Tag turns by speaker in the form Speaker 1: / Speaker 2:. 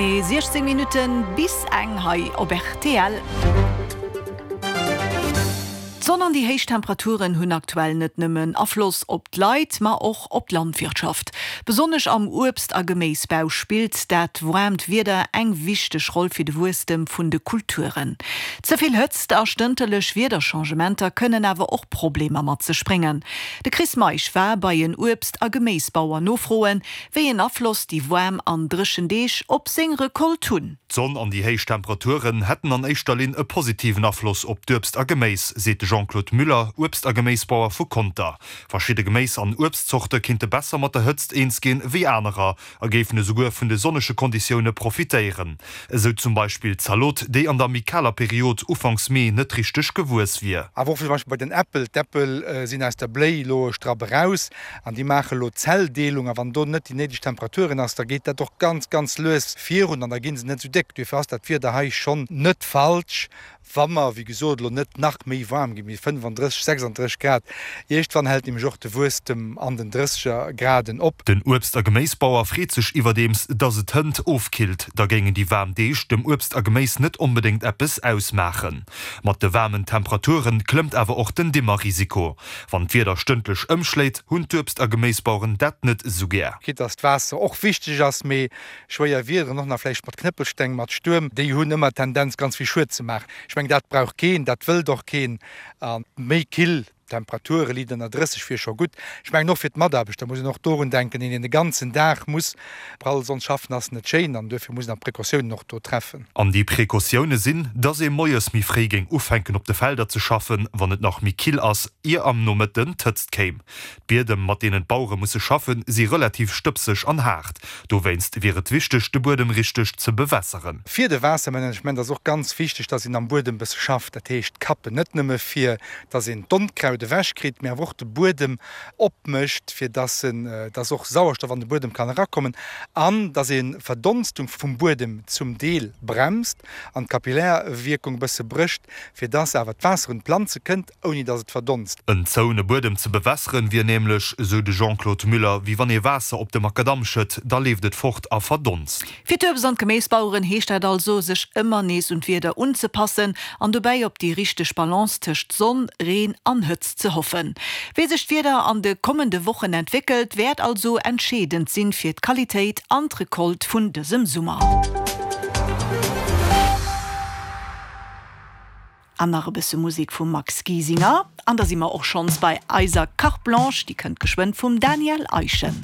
Speaker 1: 16 Minutten bis eng hei op rtl. D'Sonn an déi héich Temperaturen hunn aktuell net nëmmen Afloss op d'Leit, ma och op d'Landwirtschaft. Besonnesch am Uebst a Geméisbau spillt dat waarmt Wieder eng wichteg Roll fir de Wuesstem vun de Kulturen. Ze vill Hëtzt a stënterlech Wiederchangementer kënnen awer och Problemer mat sech bréngen. De Chris Meisch war bei en Uebst a Geméisbauer nofroen, Wéi en Afloss déi waarm an dréchen Deeg op seng Recolte hunn?
Speaker 2: D'Sonn an déi héich Temperaturen hätten an éischter Linn e positiven Afloss op d'Uebst a Geméis, seet de Jean-Claude Müller, Uebst a Geméisbauer vu Conter. Verschidde Geméis an Uebstzorte kinnte besser mat der Hëtzt eens ginn ewéi anerer a géifen esouguer vun de sonnege Konditioune profitéieren. Esou zum Beispill d'Zalot, déi an der méi kaler Period ufanks Mee net richteg gewuess wier.
Speaker 3: Awer och zum Beispill bei den Äppel, D'Äppel sinn aus der Bléi elo e Strapp eraus An déi maache elo Zelldeelung, a wann do net déi néideg Temperaturen ass, da geet dat och ganz, ganz lues virun an da gi se net esou déck. Duerfir ass dat Wieder hei schonn net falsch, wa mer, wéi gesot, elo net nach méi waarm ginn, wéi 35, 36 Grad. Iergendwann hält nämlech och de Wuesstem an den drësseger Graden op.
Speaker 2: Den Uebst a Geméisbauer freet sech iwwerdeems, dass et hënt ofkillt, da géingen déi waarm Deeg dem Uebst a Geméis net onbedéngt eppes ausmaachen. Mat de waarmen Temperature klëmmt awer och den Dimmerrisiko. Wann d'Wieder stëndlech ëmschléit, hunn d'Uebst a Geméisbaueren dat net esou gär.
Speaker 3: Quitte dass d'Waasser och wichteg ass, mee schwéier Wiederen, och nach vläicht mat Knëppelsteng, mat Stuerm, déi hunn ëmmer d'Tendenz ganz vill Schued ze maachen. Ech mengen, dat brauch keen, dat wëllt och keen. A méi kill Temperature, liit ënner 30 wier scho gutt. Ech mengen och fir d'Mataarbechter muss een och dorun denken, een deen de ganzen Dag muss prall Sonn schaffen, ass net schéin an duerfir muss een och Precautiounen och do treffen.
Speaker 2: An déi Precautioune sinn, dass ee moies méi fréi géing ufänken op de Felder ze schaffen, wann et nach méi kill ass, ier am Nomëtten d'Hëtzt kéim. D'Biedem, mat deenen d'Bauere musse schaffen, si relativ stëbseg an haart. Dowéinst wier et wichteg, de Buedem richteg ze bewässeren.
Speaker 3: Fir de Waassermanagement ass och ganz wichteg, dass een am Buedem bësse schafft, dat heescht kappen, net nëmme fir dass een d'Onkraut ewech kritt, mee awer och de Buedem opmécht, fir dass en, dass och Sauerstoff an de Buedem kann erakommen an dass ee Verdonstung vum Buedem zum Deel bremst an d'Kapillärwierkung e bësse brécht, fir dass awer d'Waasser un d'Planze kënnt, ouni dass et verdonst.
Speaker 2: En zoune Buedem ze bewässeren, wier nämlech, esou de Jean-Claude Müller, wéi wann ee Waasser op de Makadamm schëtt, da leeft et fort a verdonst.
Speaker 1: Fir d'Uebst an d'Geméisbaueren heescht dat also, sech ëmmer nees un d'Wieder unzepassen an dobäi op déi richteg Balance tëscht Sonn, Reen an Hëtzt ze hoffen. Wéi sech d'Wieder an de kommende Wochen entwéckelt, wäert also entscheedend sinn fir d'Qualitéit an d'Recolte vun dësem Summer. An nach e bësse Musek vum Max Giesinger an da si mer och schonns bei eiser Carte Blanche, déi kënnt geschwënn vum Daniel Eischen.